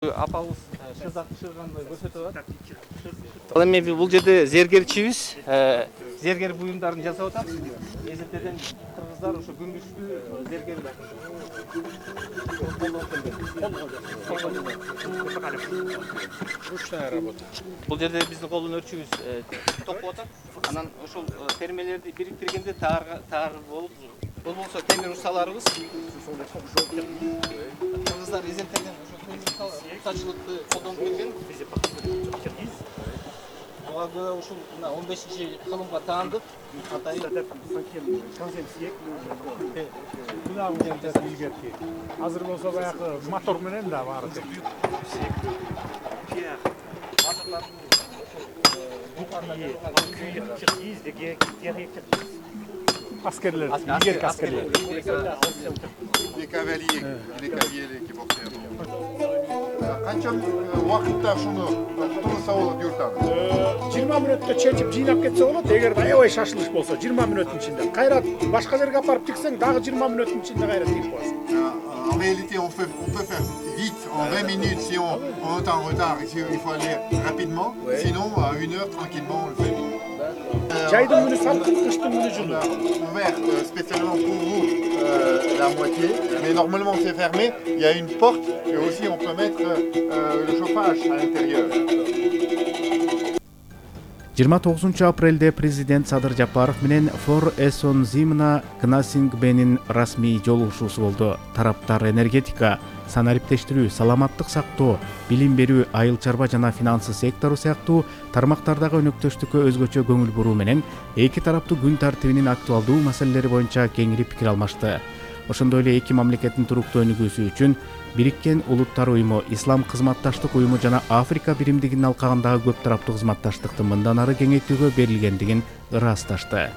Апабыз шыргандай көрсөтүп атат. Ал эми бул жерде зергерчибиз, зергер буюмдарын жасап атат. Эзертеден кыргыздар ошо күмүштүү зергер Ручная работа. Бул жерде биздин колдун өрчүбүз токуп атат. Анан ошол термелерди бириктиргенде таар болуп, бул болсо темир усталарыбыз. Кыргыздар эзертеден устачылыкты колдонуп келген. Буга көрө ушул 15-кылымга таандык. Азыр болсо баягы мотор менен да баары. Аскерлер, игерки аскерлер. Les cavaliers qui portaient. Канча убакытта ушуну тутулса болот юртабыз? 20 мүнөттө чечип жыйнап кетсе болот. Эгерде аябай шашылыш болсо 20 мүнөттүн ичинде. Кайра башка жерге апарып тиксең, дагы 20 мүнөттүн ичинде кайра тигип коесуң. En réalité, on peut faire vite, en 20 minutes, si on est en retard, il faut aller rapidement. Sinon, à 1 heure, tranquillement, on le fait vite. Жайдын күнү салкын, кыштын күнү On жылуу. a ouvert spécialement pour vous la moitié, mais normalement c'est fermé. Il y a une porte et aussi on peut mettre le chauffage à l'intérieur. 29 апрелде президент Садыр Жапаров менен Фор Эсон Зимна Гнасингбенин расмий жолугушуусу болду. Тараптар энергетика, санариптештирүү, саламаттык сактоо, билим берүү, айыл чарба жана финансы сектору сыяктуу тармактардагы өнөктөштүккө өзгөчө көңүл буруу менен эки тараптуу күн тартибинин актуалдуу маселелери боюнча кеңири пикир алмашты. Ошондой эле эки мамлекеттин туруктуу өнүгүүсү үчүн Бириккен Улуттар уюму, Ислам кызматташтык уюму жана Африка биримдигинин алкагындагы көп тараптуу кызматташтыкты мындан ары кеңейтүүгө берилгендигин ырасташты.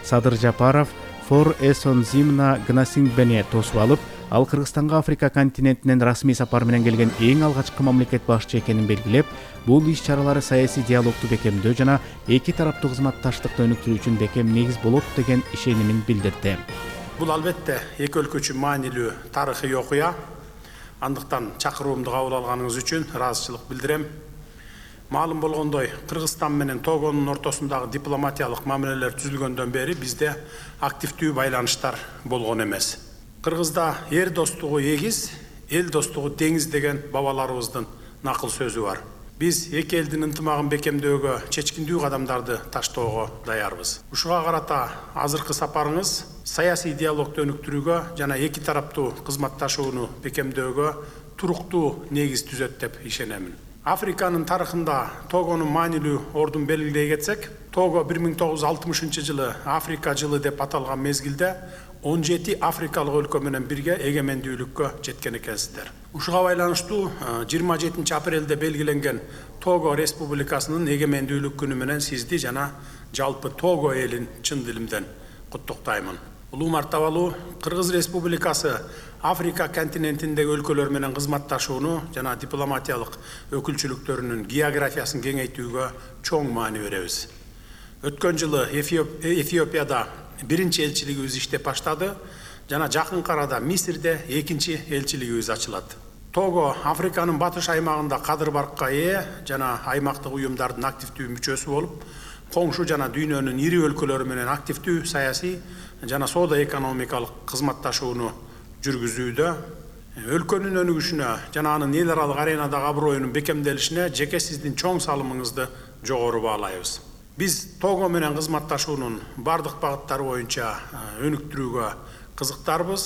Садыр Жапаров Фор Эсон Зимна Гнасингбени тосуп алып, ал Кыргызстанга Африка континентинен расмий сапар менен келген эң алгачкы мамлекет башчы экенин белгилеп, бул иш-чаралары саясий диалогду бекемдөө жана эки тараптуу кызматташтыкты өнүктүрүү үчүн бекем негиз болот деген ишенимин билдирди. Бул албетте эки өлкө үчүн маанилүү тарыхый окуя. Андыктан чакыруумду кабыл алганыңыз үчүн ыраазычылык билдирем. Маалым болгондой, Кыргызстан менен Тогонун ортосундагы дипломатиялык мамилелер түзүлгөндөн бери бизде активдүү байланыштар болгон эмес. Кыргызда эр достугу эгиз, эл достугу деңиз деген бабаларыбыздын накыл сөзү бар. Биз эки элдин ынтымагын бекемдөөгө чечкиндүү кадамдарды таштоого даярбыз. Ушуга карата азыркы сапарыңыз саясий диалогду өнүктүрүүгө жана эки тараптуу кызматташууну бекемдөөгө туруктуу негиз түзөт деп ишенемин. Африканын тарыхында Тогонун маанилүү ордун белгилей кетсек, Того 1960 жылы Африка жылы деп аталган мезгилде 17 африкалык өлкө менен бирге эгемендүүлүккө жеткен экенсиздер. Ушуга байланыштуу 27 апрелде белгиленген Того Республикасынын эгемендүүлүк күнү менен сизди жана жалпы Того элин чын дилимден куттуктаймын. Улуу мартабалуу Кыргыз Республикасы Африка континентиндеги өлкөлөр менен кызматташууну жана дипломатиялык өкүлчүлүктөрүнүн географиясын кеңейтүүгө чоң маани беребиз. Өткөн жылы Эфиопияда биринчи элчилигибиз иштеп баштады жана жакын арада Мисирде экинчи элчилигибиз ачылат. Того Африканын батыш аймагында кадыр баркка ээ жана аймактык уюмдардын активдүү мүчөсү болуп, коңшу жана дүйнөнүн ири өлкөлөрү менен активдүү саясий жана соода экономикалык кызматташууну жүргүзүүдө, өлкөнүн өнүгүшүнө жана анын эл аралык аренадагы аброюнун бекемделишине жеке сиздин чоң салымыңызды жогору баалайбыз. Биз Того менен кызматташуунун бардык багыттары боюнча өнүктүрүүгө кызыктарбыз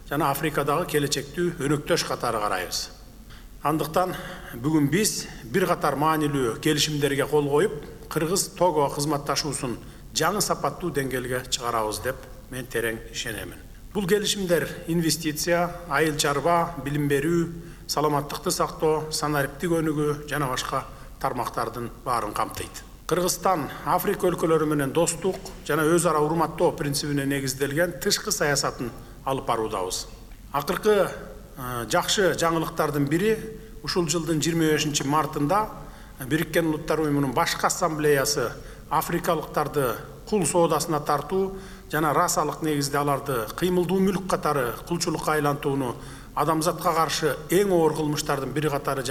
жана Африкадагы келечектүү өнөктөш катары карайбыз. Андыктан бүгүн биз бир катар маанилүү келишимдерге кол коюп, Кыргыз-Того кызматташуусун жаңы сапаттуу деңгээлге чыгарабыз деп мен терең ишенемин. Бул келишимдер инвестиция, айыл чарба, билим берүү, саламаттыкты сактоо, санариптик өнүгүү жана башка тармактардын баарын камтыйт. Кыргызстан Африка өлкөлөрү менен достук жана өз ара урматтоо принцибине негизделген тышкы саясатын алып баруудабыз. Акыркы жакшы жаңылыктардын бири ушул жылдын 25 мартында Бириккен Улуттар уюмунун башкы ассамблеясы африкалыктарды кул соодасына тартуу жана расалык негизде аларды кыймылдуу мүлк катары кулчулукка айлантууну адамзатка каршы эң оор кылмыштардын бири катары